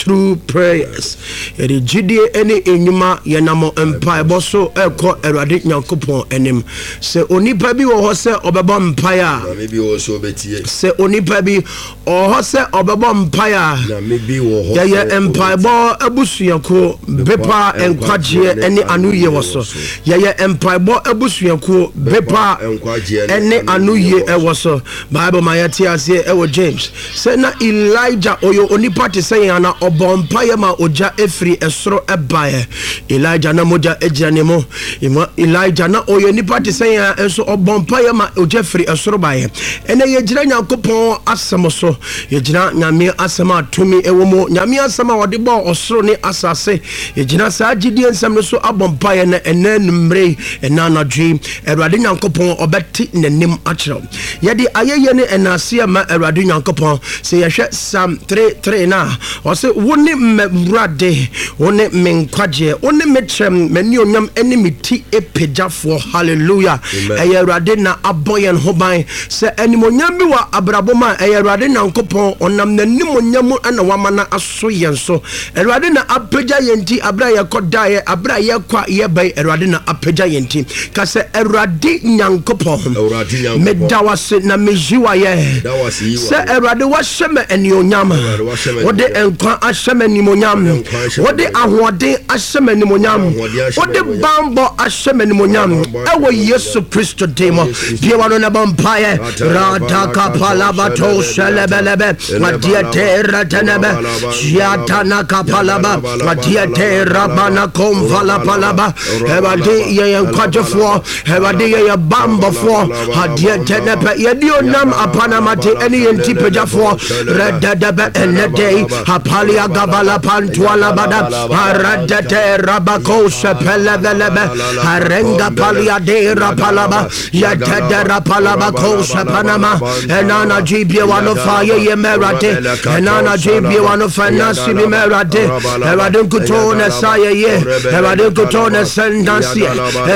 Through prayers. Yɛde gyidie ne nnwuma yɛnam mpaebɔ so ɛkɔ Awurade Nyankopɔn anim. Sɛ onipa bi wɔ hɔ sɛ ɔbɛbɔ mpae a, Nyame bi wɔ hɔ sɛ ɔbɛtie. Sɛ onipa bi wɔ hɔ sɛ ɔbɛbɔ mpae a, Nyame bi wɔ hɔ yɛyɛ sɛ mpaebɔ abusuakuo, bepɔ a nkwagyeɛ ne anoyie wɔ so. Yɛyɛ mpaebɔ abusuakuo, bepɔ a ne anoyie wɔ so. Bible ma yɛte aseɛ ɛwɔ James sɛ na Elijah ɔyɛ onipa te sɛ yɛn ana ɔbɔ mpaeɛ ma ogya ɛfiri ɛsoro ɛbaeɛ. Elijah na mogya gyina ne mu. Elijah na ɔyɛ nipa te sɛ yɛn nso ɔbɔ mpaeɛ ma ogya firi ɛsoro baeɛ. Ɛnɛ yɛgyina Nyankopɔn asɛm so. Yɛgyina Nyame asɛm a tumi ɛwɔ mu. Nyame asɛm a ɔde bɔɔ ɔsoro ne asase. Yɛgyina saa gyidie nsɛm no so abɔ mpaeɛ na ɛnɛ anwummerɛ yi, ɛnɛ anadwo yi, Awurade Nyankopɔn ɔbɛte n'anim akyerɛ wo. Yɛde ayɛyie ne ɛnaaseɛ ma Awurade Nyankopɔn. Sɛ yɛhwɛ Psalm 3:3 no a, ɔse, Wo ne m'Awurade, wo ne me nkwagyeɛ, wo ne me kyɛm, m'anuonyam ne me ti pagyafoɔ. Hallelujah. Ɛyɛ Awurade na abɔ yɛn ho ban. Sɛ animuonyam bi wɔ abrabɔ mu a, ɛyɛ Awurade Nyankopɔn. Ɔnam n'animuonyam mu na wama no aso yɛn so. Awurade na apagya yɛn ti aberɛ a yɛkɔ daeɛ, aberɛ a yɛkɔ a yɛba yi, Awurade na apagya yɛn ti. Ka sɛ, Awurade Nyankopɔn, meda wo ase na meyi wo ayɛ sɛ Awurade wahyɛ me anuonyam, wode nkwa ahyɛ me animuonyam, wode ahoɔden ahyɛ me animuonyam, wode banbɔ ahyɛ me animuonyam, ɛwɔ Yesu Kristo din mu. Bue w'ano na bɔ mpaeɛ. Radakapalabato shelebelebe, madiete retenebe, Yatana kapalaba, madiete rabana komvala palaba. Awurade yɛ yɛn nkwagyefoɔ, Awurade yɛ yɛn bambɔfoɔ, adeɛ tɛnɛpɛ, yɛde onam apanamate ɛne yɛn ti pagyafoɔ, rɛdɛdɛbɛ ɛnɛ dɛ yi, apalia gabala pantualabada, aradɛtɛ rabako sɛpɛlɛbɛlɛbɛ, arenga palia de rapalaba, yɛtɛdɛ rapalaba ko sɛpanama, ɛna anadwo yi bie wano fa yɛyɛ ma Awurade, ɛna anadwo yi bie wano fa ɛna sibi ma Awurade, Awurade nkutoo na ɛsa yɛyɛ, Awurade nkutoo na ɛsɛ ndanseɛ.